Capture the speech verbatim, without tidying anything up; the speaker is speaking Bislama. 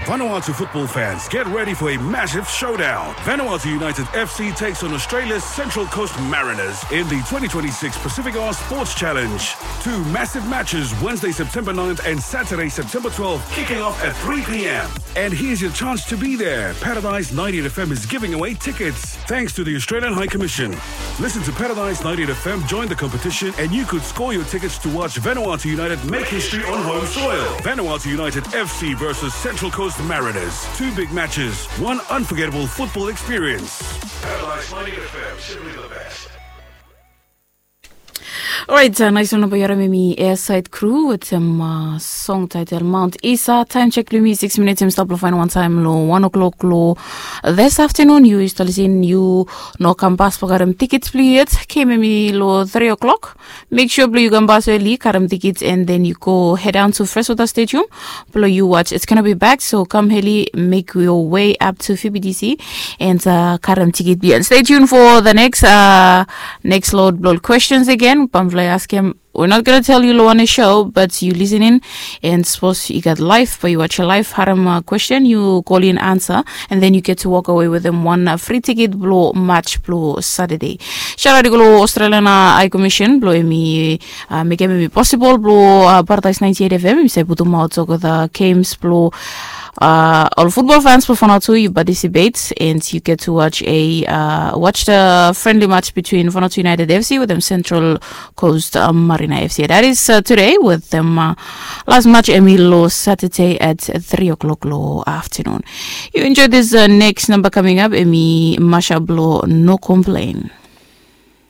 Vanuatu football fans, get ready for a massive showdown. Vanuatu United F C takes on Australia's Central Coast Mariners in the twenty twenty-six Pacific Islands Sports Challenge. Two massive matches, Wednesday, September ninth and Saturday, September twelfth, kicking off at three p.m. And here's your chance to be there. Paradise ninety-eight F M is giving away tickets. Thanks to the Australian High Commission. Listen to Paradise ninety-eight F M, join the competition, and you could score your tickets to watch Vanuatu United make history on home soil. Vanuatu United F C versus Central Coast Mariners. Two big matches, one unforgettable football experience. Paradise ninety-eight F M, simply the best. Orait, nais wan nao bae yu harim hemi Airside Crew wetem song title Mount Isa. Taem jek blong yumi sikis minits hemi stap long faen wantaem long wan o'clock long this afternoon. Yu stap lisin, yu no kambas blong karem tikits blong yu yet. Kem hemi long three o'clock. Make sure blong yu kambas eli, karem tikits, and then yu go head down to Freshwater Stadium blong yu watch It's Gonna Be Back. So kam eli, make your way up to F B D C and karem tikit blong yu. And stay tuned for the next next load blong ol questions again. Bamfala yu askem, we're not gonna tell yu long wanem show, but yu listening, and sapos yu gat live, bae yu watch live, harem question, yu kolin ansa, and then yu get to walk away wetem wan free ticket blong match blong Saturday. Shout out i go long Australian High Commission blong hemi mekem hemi possible blong Paradise ninety-eight F M hemi save putumaot olgeta games blong ol football fans blong Vanuatu, yu participate and yu get to watch a watch the friendly match between Vanuatu United F C wetem Central Coast Mariner F C. That is today wetem las match hemi long Saturday at three o'clock long afternoon. Yu enjoy this next number coming up, hemi mashup blong No Complain.